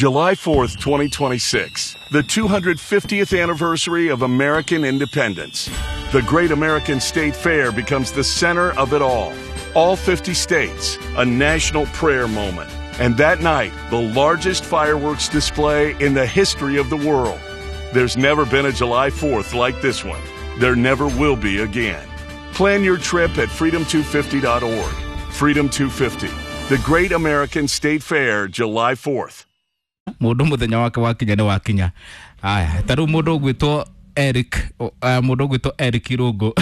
July 4th, 2026, the 250th anniversary of American independence. The Great American State Fair becomes the center of it all. All 50 states, a national prayer moment. And that night, the largest fireworks display in the history of the world. There's never been a July 4th like this one. There never will be again. Plan your trip at freedom250.org. Freedom 250, the Great American State Fair, July 4th. Mundu muthenya wake wakinya ni wakinya. Aya, ta riu mundu ugwitwo Eric, mundu ugwitwo Eric Irungu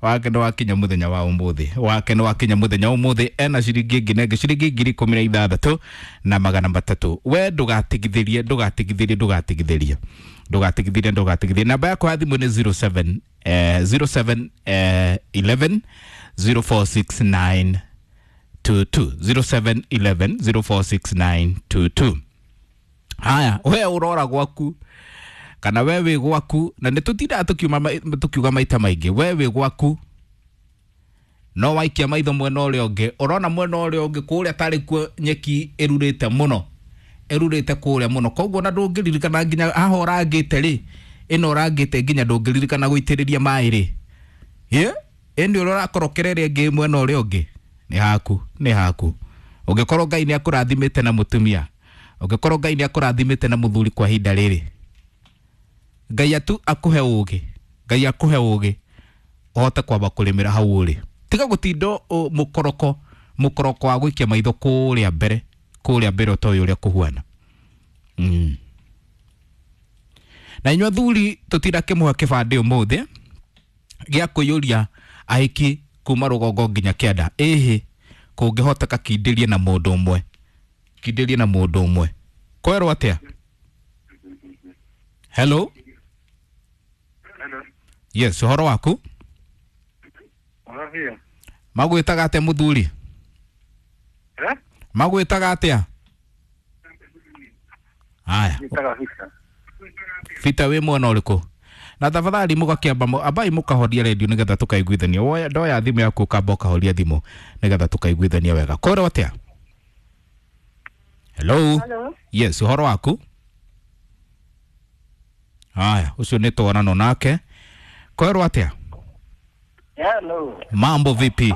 wake nĩ wakinya muthenya wa umuthi, wake nĩ wakinya muthenya wa umuthi, ena ciringi ĩngĩ na ĩngĩ ciringi 16,300. We ndũgatigithĩrie, ndũgatigithĩrie, ndũgatigithĩrie, ndũgatigithĩrie, ndũgatigithĩrie. Namba yakwa ya thimũ nĩ 07 07 11 0469 22, 07 11 046922. Haya, we urora gwaku kana we wĩ gwaku, na nĩ tũtindaga tũkiuga maita maingĩ, we wĩ gwaku no waikia maitho mwena ũrĩa ũngĩ, ũrona mwena ũrĩa ũngĩ kũrĩa tarĩ kuo nyeki ĩrurĩte mũno, ĩrurĩte kũrĩa mũno, koguo na ndũngĩririkana nginya haha ũrangĩte rĩ, ĩno ũrangĩte nginya ndũngĩririkana gũitĩrĩria maĩ rĩ, ĩ ĩndĩ ũrĩa ũrakorokera ĩrĩa ĩngĩ mwena ũrĩa ũngĩ nĩ haku, nĩ haku. Ũngĩkorwo Ngai nĩ akũrathimĩte na mũtumia, ũngĩkorwo Ngai nĩ akũrathimĩte na mũthuri kwa ihinda rĩrĩ, Ngai atu akuhe ũgĩ, Ngai akuhe ũgĩ ũhote kwamba kũrĩmĩra hau ũrĩ, tiga gũtinda mũkoroko, mũkoroko wa gũikia maitho kũrĩa mbere, kũrĩa mbere ũtoĩ ũrĩa kũhuana. Na inyuĩ athuri tũtinda kĩmũhe kĩbandĩ ũmũthĩ gĩa kũiyũria ahiki kuma rũgongo nginya kĩanda, ĩhĩ kũngĩhoteka kindĩrie na mũndũ ũmwe, kindĩrie na mũndũ ũmwe. Kwerwo atĩa? Hello. Hello. Yes, ũhoro waku? Ũrahia. Magwĩtaga atĩa mũthuri? Eh? Magwĩtaga atĩa? Haya. Njĩtaga Victor. Victor, wĩ mwena ũrĩkũ? Na tafadhali mũgakĩamba ambai mũkahoria redio nĩgetha tũkaiguithania. Woya ndoya thimũ yaku ũkamba ũkahoria thimũ nĩgetha tũkaiguithania wega. Kwerwo atĩa? Hello. Hello. Yes, ũhoro waku? Haya, ũcio nĩ twanano nake. Kwerwo atĩa? Hello. Mambo vipi?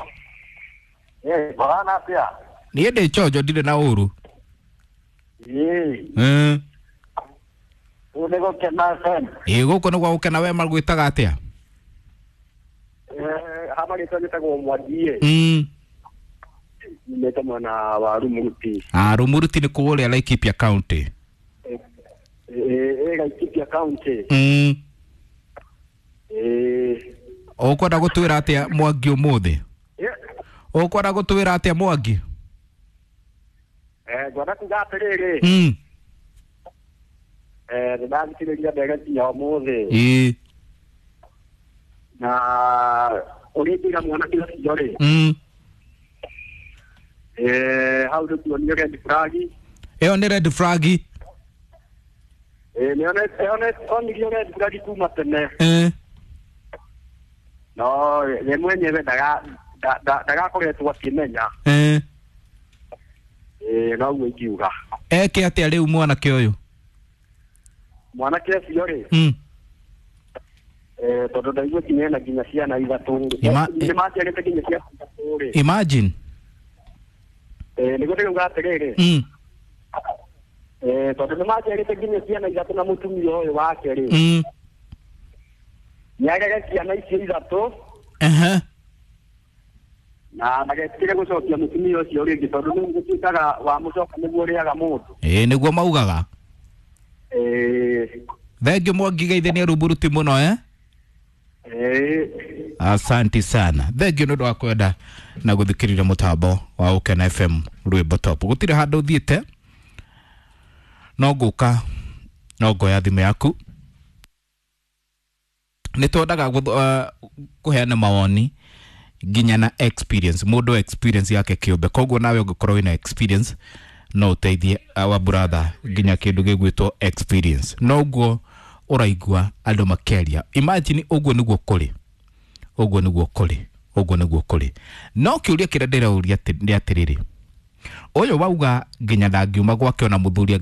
Eh, bwana atĩa? Niĩ ndĩ chonjo, ndirĩ na ũru. Ĩĩ. Rĩu nĩ gũkena FM. Ĩĩ, gũkũ nĩ gwa gũkena. We magwĩtaga atĩa? Eh, ha marĩtwa njĩtagwo Mwangi. Nyumĩte mwena wa Rumuruti. Ah, Rumuruti nĩ kũrĩa Laikipia County. Ĩĩ, Laikipia County. Ĩĩ. Ũkwenda gũtwĩra atĩa Mwangi ũmũthĩ? Ũkwenda gũtwĩra atĩa Mwangi? Eh, ngwenda kuga atĩrĩrĩ. Eh, nĩndathikĩrĩria ndereti ya ũmũthĩ. Ĩĩ. Na ũrĩa ingĩra mwanake ũcio rĩ. Eh, hau nĩ kuonio red flag. Ĩyo nĩ red flag. Eh, nĩ onirio red flag kuma tene. No ye mwenyewe ndagakoretwo akĩmenya. Eh, noguo ingiuga. Eke atĩa rĩu mwanake ũyũ? Mwanake ũcio rĩ. Eh, tondũ ndaigua nginya ena nginya ciana ithatũ. Nĩ maciarĩte nginya ciana ithatũ rĩ. Imagine. Eh, nĩguo ndĩrauga atĩrĩrĩ. Eh, tondũ nĩ maciarĩte nginya ciana ithatũ na mũtumia ũyũ wake rĩ. Nĩarere ciana icio ithatũ. Na ndagetigĩre gũcokia mũtumia ũcio rĩngĩ tondũ rĩu gũtuĩkaga wamũcoka nĩguo ũrĩaga mũndũ. Ĩĩ, nĩguo maugaga. Ĩĩ. Thengiũ Mwangi geithania Rumuruti mũno, eh? Ĩĩ. Asante sana. Thengiũ nĩ ũndũ wa kwenda na gũthikĩrĩria mũtambo wa Ũkena FM rwĩmbo top. Gũtirĩ handũ ũthiĩte, no ngũka no ngoya thimũ yaku. Nĩ twendaga kũheana mawoni nginya na experience, mũndũ experience yake kĩũmbe, koguo nawe ũngĩkorwo wĩna experience no ũteithie our brother nginya kĩndũ gĩgwĩtwo experience. No ũguo ũraigua andũ makĩaria, imagine ũguo nĩguo kũrĩ, ũguo nĩguo kũrĩ, ũguo nĩguo kũrĩ. No kĩũria kĩrĩa ndĩrauria nĩ atĩrĩrĩ, ũyũ wauga nginya ndangiuma gwake ona mũthuri.